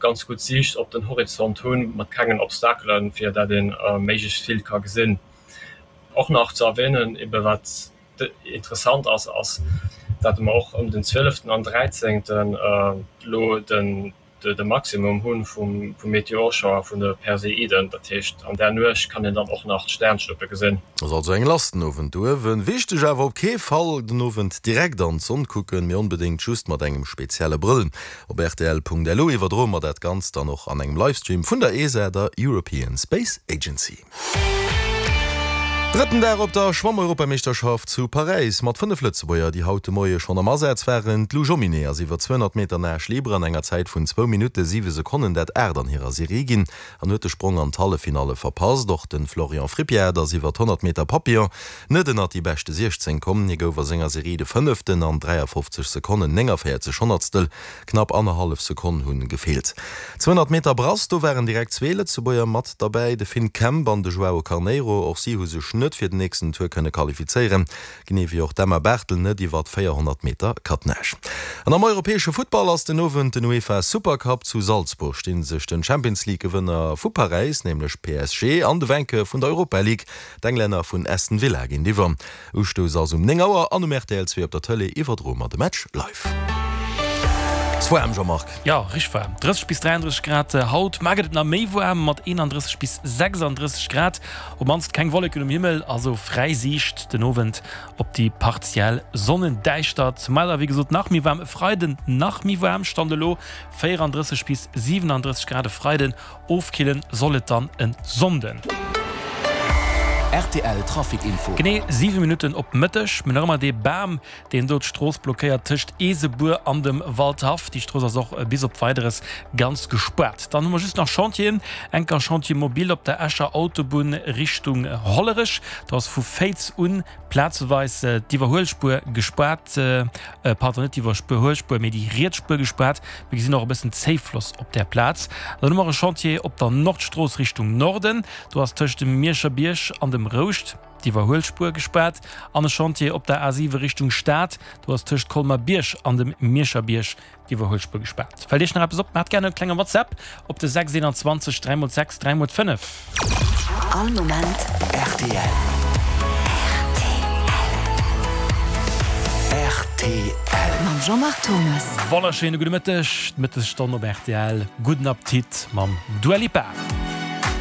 ganz gutt Siicht op den Horizont hunn, mat kengen Obstakelen, fir dat ee méiglechst vill ka gesinn. Och nach ze erwähnen, ebe wat interessant ass, ass dat mer och ëm den zwieleften an dräizéngten elo den de Maximum hu vum Meteorschauer vun de Perseiden. Dat heescht, an där Nuecht kann een dann och nach d'Sternschnuppe gesinn. Ass also eng lass den Owend do uewen. Wichteg awer, op kee Fall den Owend direkt an d'Sonn kucken, mee onbedéngt just mat engem spezielle Brëll. Op rtl.lu iwwerdroe mer dat Ganzt dann och an engem Livestream vun der ESA, der European Space Agency. Drëtten Dag op der Schwamm-Europameeschterschaft zu Paräis mat 5 Lëtzebuerger, déi haut de Moie schonn am Asaz waren. D'Lou Jomminet ass iwwer 200 Meter Nage libre an enger Zäit vun zwou Minutte 7 Sekonnen dat aacht an hirer Serie ginn an huet de Sprong an d'Halleffinalle verpasst. Och de Florian Frippiard ass iwwer 100 Meter Papillon net ënnert déi beschte 16 komm. Hie gouf a senger Serie de Fënneften an 53 Sekonnen 49 Honnertstel. Knapp annerhallef Sekonn hunn gefeelt. 200 Meter Brass, do waren direkt zwee Lëtzebuerger mat derbäi, de Finn Kemp an de Joao Carneiro. Och si hu sech net fir den nächsten Tour kënne qualifizéieren, genee wéi och d'Emma Barthel net iwwer 400 Meter Cutnage. An am europäesche Futtball ass den Owend den UEFA Supercup. Zu Salzburg sti sech den Champions League Gewënner vu Paräis, nämlech PSG, an de Vainqueur vun der Europa League, d'Englänner vun Aston Villa géintiwwer. Ustouss ass um 9 Auer an um rtl 2 op der Tëlee iwwerdroe mer de Match live. Ass waarm, Jean-Marc? Jo, richteg waarm. 30 bis 33 Grad haut. Mar gëtt et nach méi waarm mat 31 bis 36 Grad. Op mannst keng Wolleken um Himmel, also fräi Siicht den Owend op déi partiell Sonnendäischtert. Mar da wéi gesot nach méi waarm e Freiden, nach méi waarm, Stand elo 34 bis 37 Grad e Freiden. Ofkillen soll et dann en Sonnden. Rtl Trafic Info. Genee 7 Minutten op Mëtteg. Mir hunn nach ëmmer dee Bam, deen do d'Strooss blockéiert tëscht Eesebuer an dem Waldhaff. Déi Strooss ass och bis op Weideres ganz gespaart. Dann hu mer just nach Chantieren. Enker Chantier mobile op der Escher Autobunn Richtung Hollerech. Do ass vu Féiz un Plazeweis d'Iwwerhuelspuer gespaart, pardon, net d'Iwwerhuelspuer, mee déi riets Spuer gespaart. Mir gesinn och e bëssen Zéifloss op där Plaz. Dann hu mer e Chantier op der Nordstrooss Richtung Norden. Do ass tëscht dem Mierscher Bierg an dem Rouscht d'Iwwerhuelspuer gespaart. An e Chantier op der A7 Richtung Stad. Do ass tëscht Colmer-Bierg an dem Mierscher Bierg D'Iwwerhuelspuer gespaart. Fält Iech nach eppes op? Maacht gären e klenge WhatsApp op de 6 21 3 x 6 3 x 5. All Moment rtl. Rtl. Mam Jean-Marc Thomas. Wonnerschéine gudde Mëtteg, d'Mëttesstonn op rtl. Gudden Appetit mam Dua Lipa.